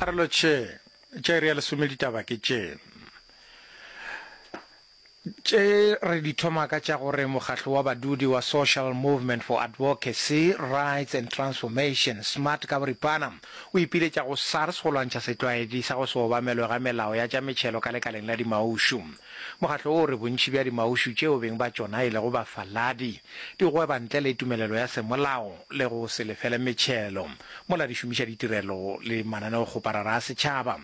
A re lotšhe. Tša iri ya lesome ditaba ke tše. Tše re di thoma ka tša gore mokgatlo wa badudi wa Social Movement for Advocacy, Rights and Transformation, smart ka boripana, o ipiletša go SARS go lwantšha setlwaedi sa go se obamelwe ga melao ya tša metšhelo ka lekaleng la dimaušu. Mokgatlo wo o re bontši bja dimaušu tšeo beng ba tšona e lego bafaladi di gweba ntle le tumelelo ya semolao le go se lefele metšhelo mola di šomiša ditirelo le mananeokgoparara a setšhaba.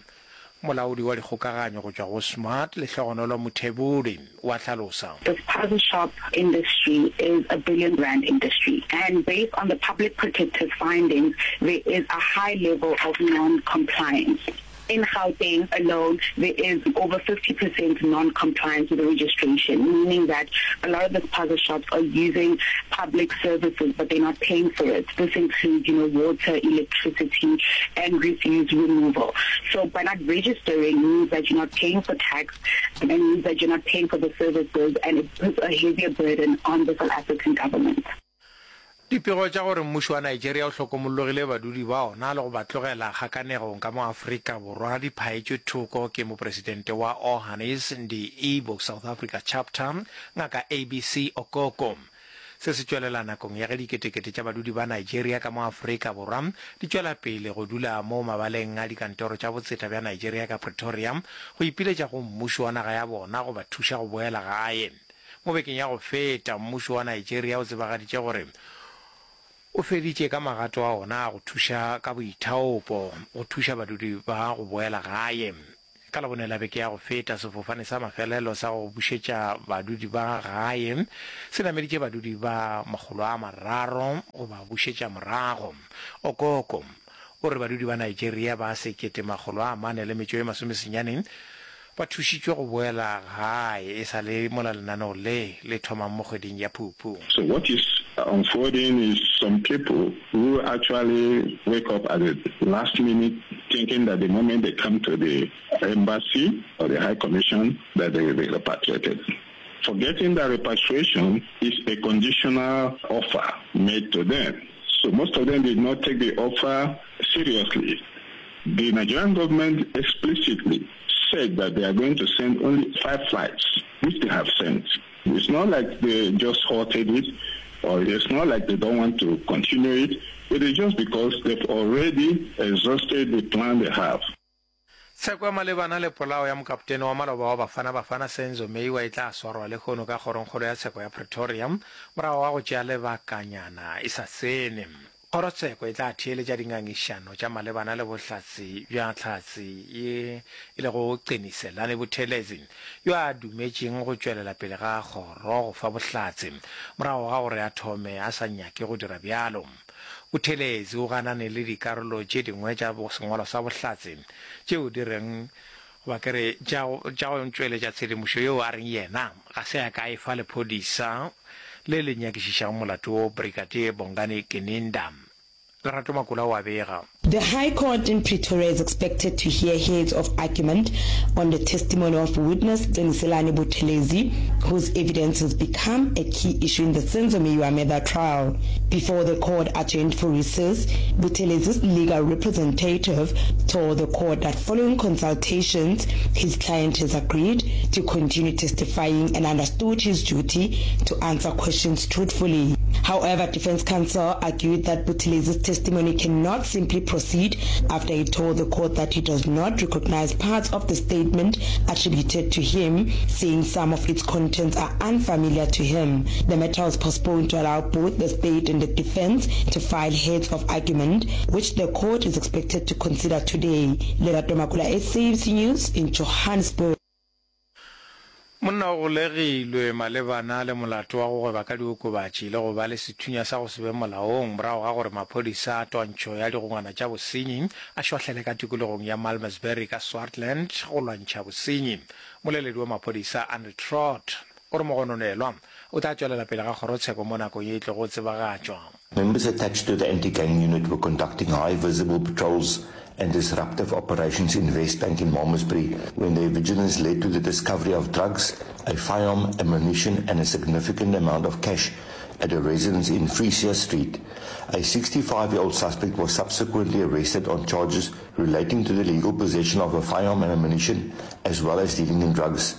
Molaodi wa dikgokaganyo go tšwa go Smart, Lehlogonolo Muthebuli, o a hlalosa. The spaza shop industry is a billion rand industry and based on the public protector's findings there is a high level of non-compliance. In Gauteng alone there is over 50% non-compliance with the registration, meaning that a lot of the spaza shops are using public services but they're not paying for it. This includes, you know, water, electricity and refuse removal. So by not registering means that you're not paying for tax and means that you're not paying for the services and it puts a heavier burden on the South African government. Dipego tša gore mmušo wa Nigeria o hlokomollogile badudi ba ona le go ba tlogela kgakanegong ka mo Afrika Borwa di phaetšwe thoko ke mopresidente wa Ohanaeze Ndi Igbo South Africa Chapter, Ngaka ABC Okoko. Se se tšwelela nakong ya ge diketekete tša badudi ba Nigeria ka mo Afrika Borwa di tšwela pele go dula mo mabaleng a dikantoro tša botseta bja Nigeria ka Pretoria go ipiletša go mmušo wa naga ya bona go ba thuša go boela gae. Mo bekeng ya go feta, mmušo wa Nigeria o tsebagaditše gore o feditše ka magato a ona a go thuša ka boithaopo go thuša badudi ba go boela gae. Ka Labone la beke ya go feta, sefofane sa mafelelo sa go bušetša badudi ba gae se nameditše badudi ba 300 go ba bušetša morago. Okoko o re badudi ba Nigeria ba 1489 ba thušitšwe go boela gae e sa le mola lenaneo le le thomang mo kgweding ya Phupu. So what is unfolding is some people who actually wake up at the last minute thinking that the moment they come to the embassy or the high commission that they will be repatriated. Forgetting that repatriation is a conditional offer made to them. So most of them did not take the offer seriously. The Nigerian government explicitly said that they are going to send only five flights, which they have sent. It's not like they just halted it, or it's not like they don't want to continue it. It is just because they've already exhausted the plan they have. Tsheko ya malebana le polao ya mokapotene wa maloba wa Bafana Bafana Senzo Meyiwa e tla swarwa lehono ka Kgorongkgolo ya Tsheko ya Pretoria morago ga go tšea lebakanyana e sa tsene. Kgorotsheko e tla theeletša dingangišano tša malebana le bohlatse bja hlatse ye e lego Qiniselani Buthelezi yo a dumetšeng go tšwelela pele ga kgoro go fa bohlatse morago ga gore a thome a sa nyake go dira bjalo. Buthelezi o ganane le dikarolo tše dingwe tša sengwalo sa bohlatse tšeo di reng goba ke re tša tša go tšweletša tshedimošo yeo a reng yena ga se a ka a e fa lephodisa le le nyakišišago molato wo, Brigadier Bongani Gininda. Lerato Makula o a bega. The High Court in Pretoria is expected to hear heads of argument on the testimony of witness Qiniselani Buthelezi, whose evidence has become a key issue in the Senzo Meyiwa murder trial. Before the court adjourned for recess, Buthelezi's legal representative told the court that following consultations, his client has agreed to continue testifying and understood his duty to answer questions truthfully. However, defense counsel argued that Buthelezi's testimony cannot simply proceed after he told the court that he does not recognize parts of the statement attributed to him, saying some of its contents are unfamiliar to him. The matter was postponed to allow both the state and the defense to file heads of argument, which the court is expected to consider today. Lerato Makula, SABC News in Johannesburg. Monna o golegilwe malebana le molato wa go gweba ka diokobatši le go ba le sethunya sa go se be molaong morago ga gore maphodisa a twantšho ya digongwana tša bosenyi a šwahlele ka tikologong ya Malmesbury ka Swartland go lwantšha bosenyi. Moleledi wa maphodisa Andre Trott o re mogononelwa o tla tšwelela pele ga kgorotsheko mo nakong ye e tlogo tsebagatšwa. Members attached to the anti-gang unit were conducting high visible patrols and disruptive operations in Westbank in Malmesbury when their vigilance led to the discovery of drugs, a firearm, ammunition and a significant amount of cash. at a residence in Frisia Street. A 65-year-old suspect was subsequently arrested on charges relating to the legal possession of a firearm and ammunition as well as dealing in drugs.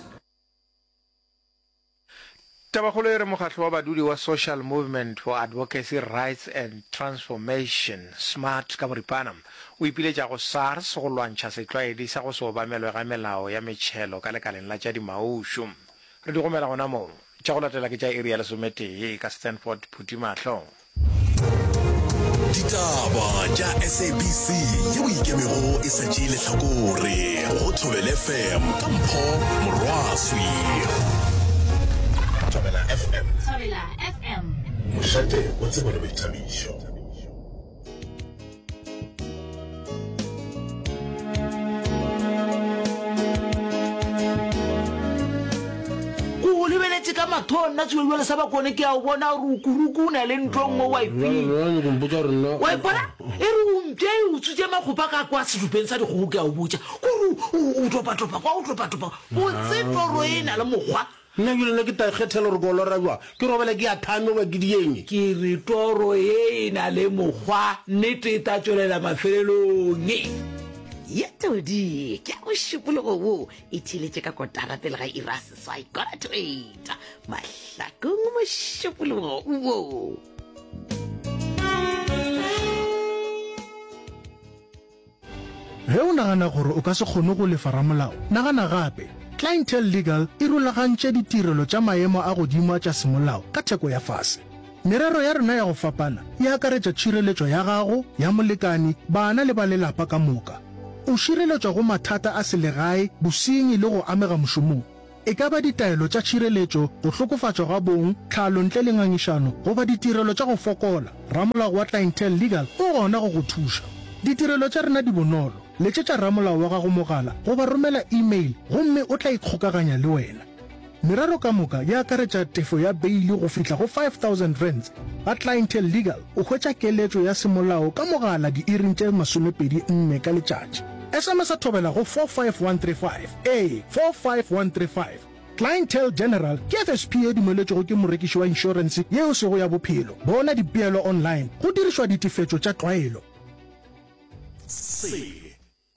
Tabakgolo e re mokgatlo wa badudi wa Social Movement for Advocacy Rights and Transformation, SMART ka boripana, o ipiletša go SARS go lwantšha setlwaedi sa go se obamelwe ga melao ya metšhelo ka lekaleng la tša dimaušu. Re di gomela gona mo. Tša go latela ke tša iri ya lesometee ka Stanford Phuthimahlo. Ditaba tša SABC yeo ikemego e sa tšee lehlakore go Thobela FM ka Mpho Morwaswi. Thobela FM. Thobela FM. Mošate wa tsebo le boithabišo. Ko go lebeletše ka matho nna tswelwele sa bakone ke a o bona gore o kuruku o na le ntlo nngwe wa ipina wa ipona e re o mpše e utswitše makgopa ka kwa sedupeng sa dikgogo ke a o botša kore o topatopa kwa o topatopa botse toro e na le mokgwa Nna bjale nna ke ta ikgethela gore ke o lora bjang, ke robale ke ya thame goba ke dieng. Ke re toro ye e na le mokgwa, nnete e ta tšwelela mafelelong. Ye todi ke ya mošupologo wo e theeletše ka kotara pele ga iri ya seswai, quarter to eight, Mahlakong mošupologo wo. Ge o nagana gore o ka se kgone go lefa ramolao, nagana gape. Clientele Legal e rulagantše ditirelo tša maemo a godimo a tša semolao ka theko ya fase. Merero ya rena ya go fapana e akaretša tšhireletšo ya gago, ya molekani, bana le ba lelapa ka moka. O šireletšwa go mathata a selegae, bosenyi le go amega mošomong. E ka ba ditaelo tša tšhireletšo, go hlokofatšwa ga bong, tlhalo ntle le ngangišano, goba ditirelo tša go fokola, ramolao wa Clientele Legal o gona go go thuša. Ditirelo tša rena di bonolo, letšetša ramolao wa gago mogala goba romela e-mail gomme o tla ikgokaganya le wena. Merero ka moka e akaretša tefo ya beili go fihla go R5000. Ga Clientele Legal o hwetša keletšo ya semolao ka mogala diiring tše 24 ka letšatši. SMS-a thobela go 45135. Ee, 45135. Clientele General ke FSP ye dumeletšwego ke morekiši wa inšorense ye e sego ya bophelo. Bona dipeelo online go dirišwa ditefetšo tša tlwaelo. Se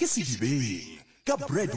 ke Sedibeng ka Brad.